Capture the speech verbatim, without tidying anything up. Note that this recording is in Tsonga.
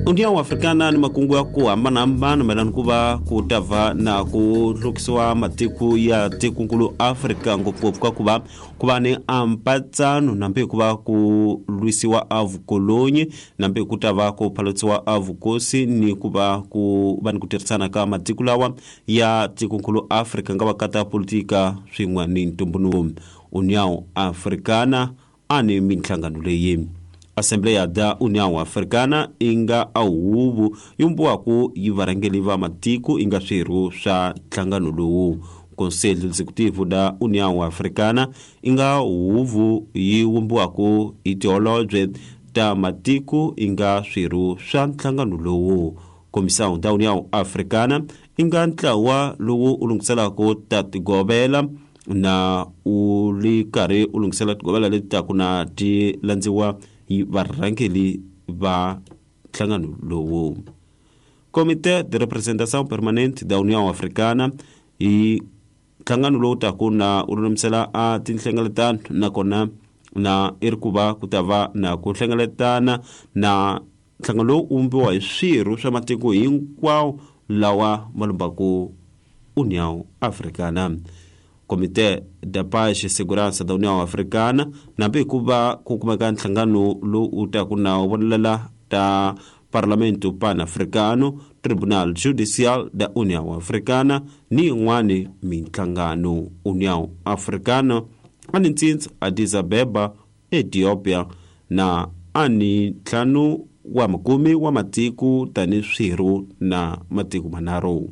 União Africana ni makungu ya ku hambanahambana mayelana ku va ku ta va na ku hlukisiwa matiko ya tikonkulu Afrika ngopfungopfu ka ku va ku va ni ampatsano nambe ku va ku lwisiwa a vukolonyi nambe ku ta va ku phalotsiwa a vukosi ni ku va ku va ni ku tirhisana ka matiko lawa ya tikonkulu Afrika nga va kata politika swin'we ni ntumbuluko. União Africana a ni minhlangano leyi Assembleia da União Africana inga a huvo yi vumbiwaka yi varhangeri va matiko inga swirho swa nhlangano lowu. Conselho Executivo da União Africana inga huvo yi vumbiwaka hi tiholobye ta matiko inga swirho swa nhlangano lowu. Comissão da União Africana inga ntlawa lowu u lunghiselaka ta tigovela na u ri karhi u lunghisela tigovela leti taku na ti landziwa hi varhangeri va nhlangano lowu. Comité de Representação Permanente da União Africana hi nhlangano lowu taku na u lulamisela a tinhlengeletano nakona na i ri ku va ku ta va na ku hlengeletana na nhlangano lowu u vumbiwa hi swirho swa matiko hinkwawo lawa ma lumbaku União Africana. Comité da Paz e Segurança da União Africana nambe ku va ku kumeka nhlangano lowu u taku na wu vonelela ta Parlamento Pan-Africano, Tribunal Judicial da União Africana ni yin'wani minhlangano. União Africana a ni ntsindza Addis Abeba, Ethiopia na a ni ntlhanu wa makume wa matiko tani swirho na matiko manharhu.